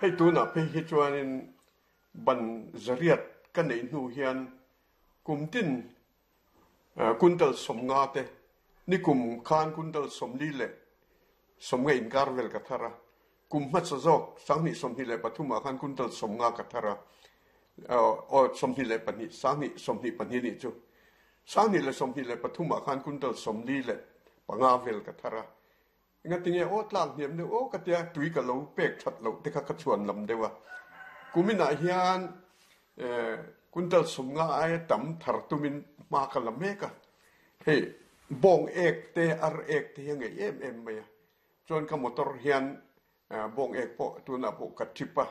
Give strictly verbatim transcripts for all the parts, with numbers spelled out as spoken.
Hei tunah phei hi chuanin ban zariat ka neih hnu hian kum tin kuntal sawmnga te nikum khan kuntal sawmli leh sawmnga inkar vel ka thar a, kum hmasa zawk sanghnih sawmhnih leh pathumah khan kuntal sawmnga ka thar a, aw sawmhnih leh pahnih sanghnih sawmhnih pahnih nih chu sanghnih leh sawmhnih leh pathumah khan kuntal sawmli leh panga vel ka thar a. Engatinge aw tlak hniam deuh aw ka tia tui ka lo pek that loh te kha ka chhuan lam deuh a. Kuminah hian kuntal sawmnga aia tam thar tumin hma ka la mek a. Hei bawng ek te ar ek te hi a ngeih em em mai a. Chuan ka motor hian bawng ek pawh tunah pawh ka trip a.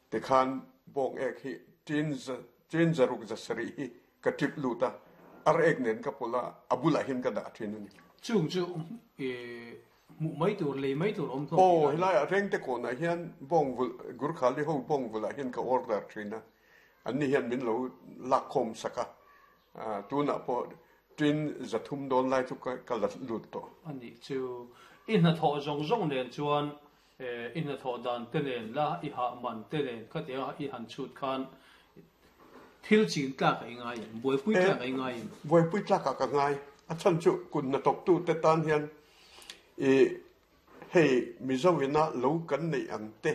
Tikhan bawng ek hi tin tin zaruk za sarih hi ka trip lut a, ar ek nen ka pawlh a, a bulah hian ka dah thin a ni. Chung chu hmuh mai tur, lei mai tur awm hlawm tih a ni. Aw, helaiah Rengte kawnah hian bawng vulh, Gurkhali ho bawng vulhah hian ka order thin a, anni hian min lo lakkhawm sak a, tunah pawh tin zathum dawn lai chu ka la lut tawh. A nih chu, i hnathawh zawng zawng nen chuan i hnathawh dan te nen la, i hah man te nen khatianga i han chhut khan thil chin tlak a i ngai em? Buaipui tlak a i ngai em? Buaipui tlakah ka ngai. A chhan chu kut hnathawktu te tan hian i hei Mizo ina lo kan neih ang te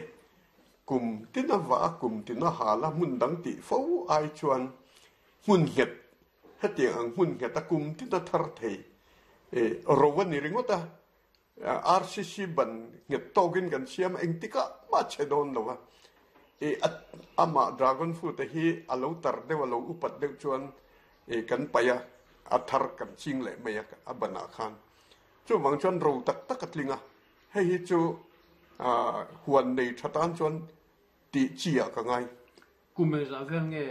kum tina vah a kum tina hal a hmun dang tih fo ai chuan hmun nghet hetiang ang hmun nghet a kum tina thar thei i ro a ni ringawt a. R C C ban nghet tawkin kan siam a, engtikah mah che dawn lo a. I amah dragon fruit hi a lo tar deuh a lo upat deuh chuan i kan paih a, a thar kan ching leh mai a a banah khan. Chuvang chuan ro tak tak a tling a, hei hi chu huan nei tha tan chuan tih chi ah ka ngai. Kum engzah vel nge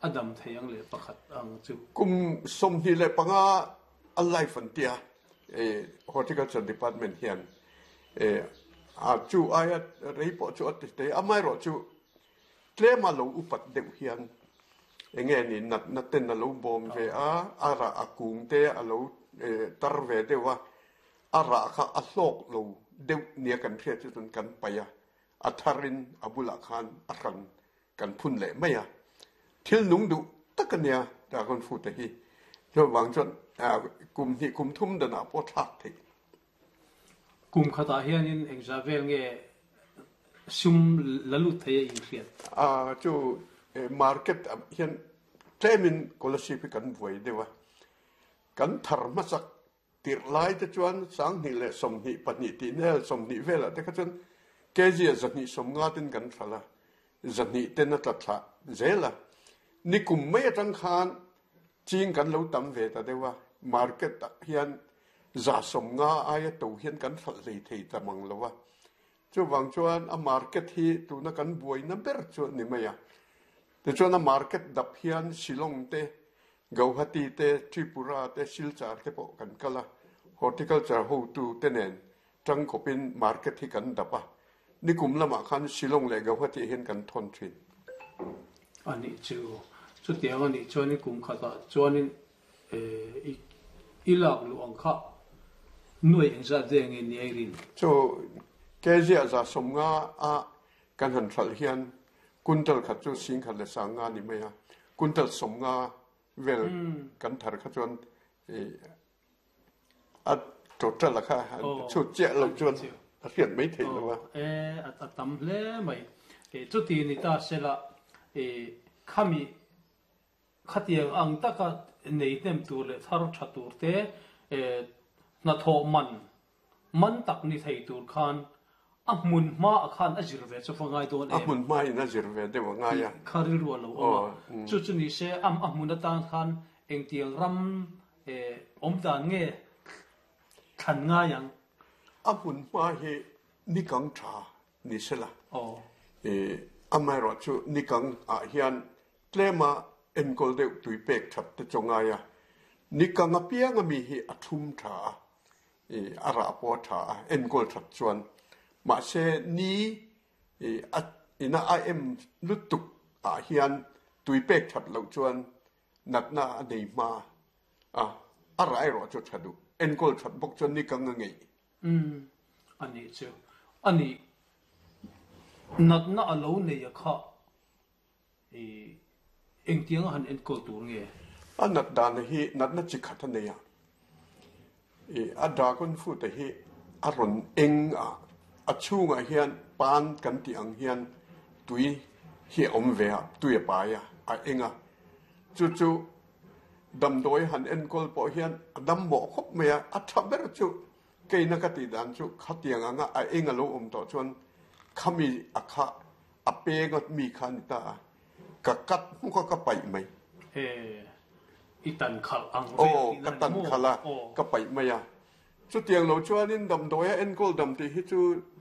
a dam thei ang leh pakhat ang chu? Kum sawmhnih leh panga a life an tia Horticulture Department hian a chu aia rei pawh chu a ti thei a, amaherawh chu tlem a lo upat deuh hian enge ni natna ten a lo bawm ve a, a rah a kung te a lo tar ve deuh a, a rah kha a hlawk lo deuh nia kan hriat chu chuan kan paih a, a tharin a bulah khan a hran kan phun leh mai a, thil nung duh tak a nia dragon fruit te hi. Chuvang chuan kum hnih kum thum danah pawh thlak theih. Kum khatah hianin engzah vel nge sum la lut thei a inhriat? A chu market ah hian tlemin scholarship hi kan buai deuh a, kan thar hmasak tirh lai te chuan sanghnih leh sawmhnih pahnih tih nel sawmhnih velah te kha chuan kg ah zahnih sawmnga ten kan hralh a, zahnih ten a tla thlah zel a. Nikum mai atang khan ching kan lo tam ve ta deuh a, market ah hian za sawmnga aia to hian kan hralh hlei thei ta mang lo a. Chuvang chuan a market hi tuna kan buaina ber chu a ni mai a. Tichuan a market dap hian Shillong te, Gauhati te, Tripura te, Silchar te pawh kan kal a, horticulture hotu te nen tangkawpin market hi kan dap a. Nikum lamah khan Shillong leh Gauhati hian kan thawn thin. A nih chu. Chutiang a nih chuanin kum khatah chuanin i lak luh ang kha nuai engzat ve nge ni a i rin? Chu kg ah za sawmnga a kan han hralh hian kuntal khat chu singkhat leh sanga a ni mai a, kuntal sawmnga vel kan thar kha chuan a total a kha chhut chiah loh chuan a hriat mai theih lo a. E a tam hle mai. Chuti ni ta sela khami khatiang ang taka nei hnem tur leh thar tha tur te hnathawh man man tak ni thei tur khan a hmun hma ah khan a zir ve chu va ngai dawn em? A hmun hma in a zir ve deuh a ngai a. Kha rilru a lo awm a. Chu chu ni se a hmun atan khan engtiang ram awm dan nge thlan ngai ang? A hmun hma hi nikang tha ni sela. Amaherawh chu nikang ah hian tlema enkawl deuh tui pek that te chu ngai a. Nikang apiang ami hi a thum tha a, a rah pawh a tha a, enkawl that chuan. Mahse ni a ina a em lutuk ah hian tui pek that loh chuan natna a nei hma a, a rah erawh chu tha duh. Enkawl that bawk chuan nikang a ngeih. Umm a nih chu. A nih Natna a lo nei a kha i engtianga han enkawl tur nge? A nat dan hi natna chi khat a nei a. I a dragon fruit hi a rawn eng a, a chhungah hian pan kan tih ang hian tui hi a awm ve a, tui a pai a, a eng a. Chu chu damdawi han enkawl pawh hian a dam mawh khawp mai a, a tha ber chu keina ka tih dan chu khatiang anga a eng a lo awm tawh chuan khami a kha a peng a mi kha a ni ta a, ka cut hmuk a ka paih mai. E, i tan khalh ang vel Aw, tihna ka a ni tan maw? khalh a, Aw. ka paih mai a. Chutiang lo chuanin damdawi a enkawl dam tih hi chu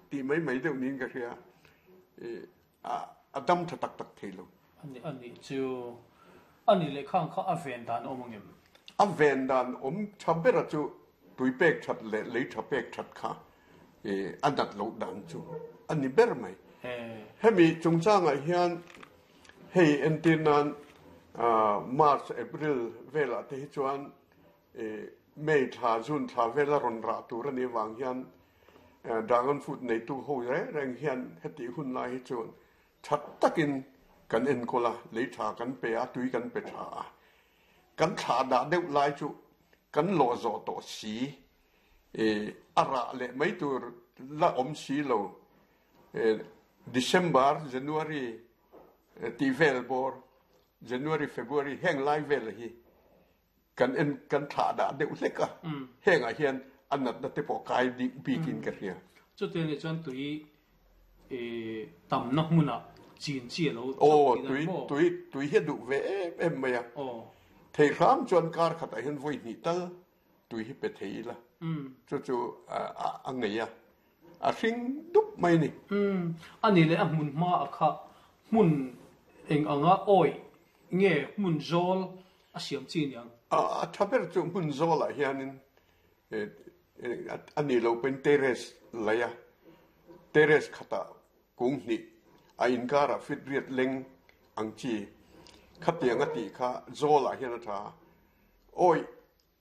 tih mai mai deuh niin ka hria. E, a a dam tha tak tak thei lo. Ani ani chu ani leh khang kha a ven dan awm ang em? A ven dan awm tha bera chu tui pek that leh lei tha pek that kha e, a nat loh dan chu a ni ber mai. E, Hemi chungchangah hian hei entir nan ah, March, April velah te hi chuan e, May thla, June thla vela rawn rah tur a nih vang hian eh, dragon fruit neitu ho reng reng hian heti hun lai hi chuan that takin kan enkawl a, lei tha kan pe a, tui kan pe tha a. Kan thla dah deuh lai chu kan lawh zawh tawh si, e, a rah leh mai tur la awm si lo. E, December, January e, tih vel bawr, January, February heng lai vel hi kan en kan thla dah deuh hlek a. Hengah hian a natna te pawh kai dik bikin ka hria. Chutiang nih chuan tui e, tamna hmunah chin chi a lo Aw, tihna tui ni maw? tui tui hi a duh ve em em mai a. Aw. Thei hram chuan kar khatah hian vawi hnih tal tui hi pe thei ila. Chu chu a a a ngei a. A hring dup mai ni. Um, ani leh a hmun hma a kha hmun eng anga awi nge hmun zawl a siam chi niang. A a tha ber chu hmun zawlah hianin e, e, a ni lo pawhin terrace lai a. Terrace khatah kung hnih a inkarah fit riat leng ang chi khatiang a tih kha zawlah hian a tha. Awi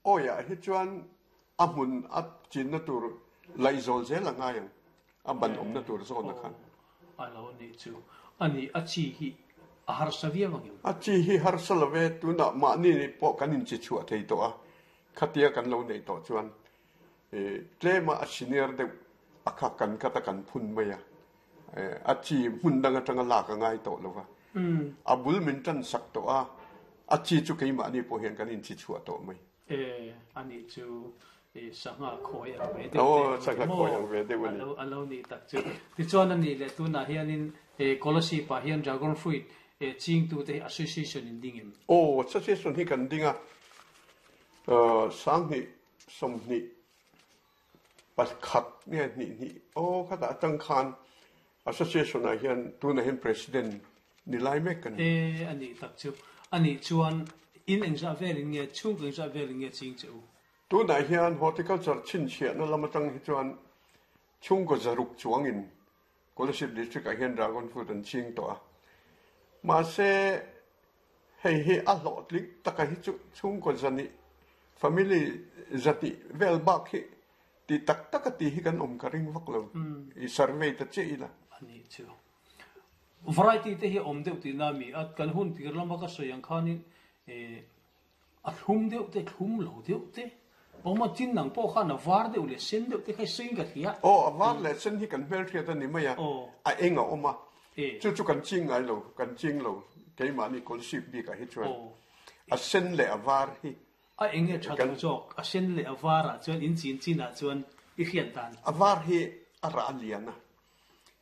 awiah hi chuan a hmun a chinna tur laih zawl zel a ngai ang. A ban awmna tur zawna khan. A lo ni chu. Ani a chi hi a harsa viau ang em? A chi hi harsa love tunah mahni ni pawh kan inchi chhuah thei tawh a. Khatia kan lo nei tawh chuan e, tlema a senior deuh a kha kan kata kan phun mai a. E, a chi hmun dang atanga lak a ngai tawh lova. A bul min tan sak tawh a. A chi chu keimahni pawh hian kan inchi chhuah tawh mai. E, ani chu e, sangha khawi ang ve deuh Aw, te sangha maw? khawi ang ve deuh a ni. A lo a lo ni tak chu. Tichuan ani leh tunah hianin e, Kolasib ah hian dragon fruit e, chingtu te hi association in ding em? Aw, association hi kan ding a. Uh, sanghnih sawmhnih pakhat nge hnih hnih aw khatah atang khan association ah hian tunah hian president ni lai mek kan ni. E, ani tak chu. Ani chuan in engzah velin nge chhung engzah velin nge ching che u? Tunah hian horticulture chhinchhiahna lam atang hi chuan chhungkaw zaruk chuangin Kolasib district ah hian dragon fruit an ching tawh a. Mahse hei hi a hlawhtling taka hi chu chhungkaw zani family zati vel bak hi ti tak taka ti hi kan awm ka ring vak lo. I survey ta che ila. Ani chu. Variety te hi awm deuh tihna mi a kan hun tir lama ka sawi ang khanin e, a thlum deuh te thlum lo deuh te awma chin nang pawh khan a var deuh leh sen deuh te kha sawiin ka hria. Aw, a var leh sen hi kan hmelhriat a ni mai a. Aw. A eng a awm a. E. Chu chu kan ching ngai lo, kan ching lo. Keimahni Kolasib bikah hi chuan. Aw. A sen leh a var hi. A eng nge tha lo zawk, a sen leh a varah chuan in chin chinah chuan i hriat dan. A var hi a rah lian a.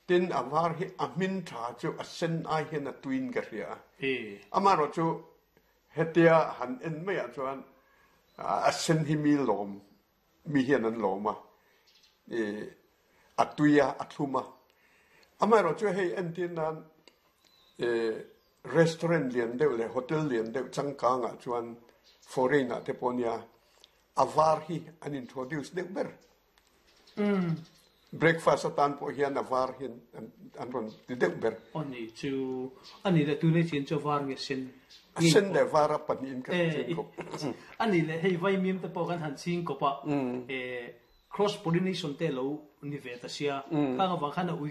Tin a var hi a hmin tha chu a sen ai hian a tuin ka hria a. E. Amaherawh chu hetia han en maiah chuan a sen hi mi lawm, mi hian an lawm a. E, a tui a, a thlum a. Amaherawh chu hei entir nan e, restaurant lian deuh leh hotel lian deuh changkangah chuan foreign ah te pawh nia a var hi an introduce deuh ber. Breakfast atan pawh hian a var hian an an rawn ti deuh ber. Ani chu ani leh tunei chin chu var nge sen. A sen leh var a pahnihin kan E, ching kawp. Ani leh hei vaimim te pawh kan han ching kawp a. E, cross pollination te lo ni ve ta sia. Khang awang khan a ui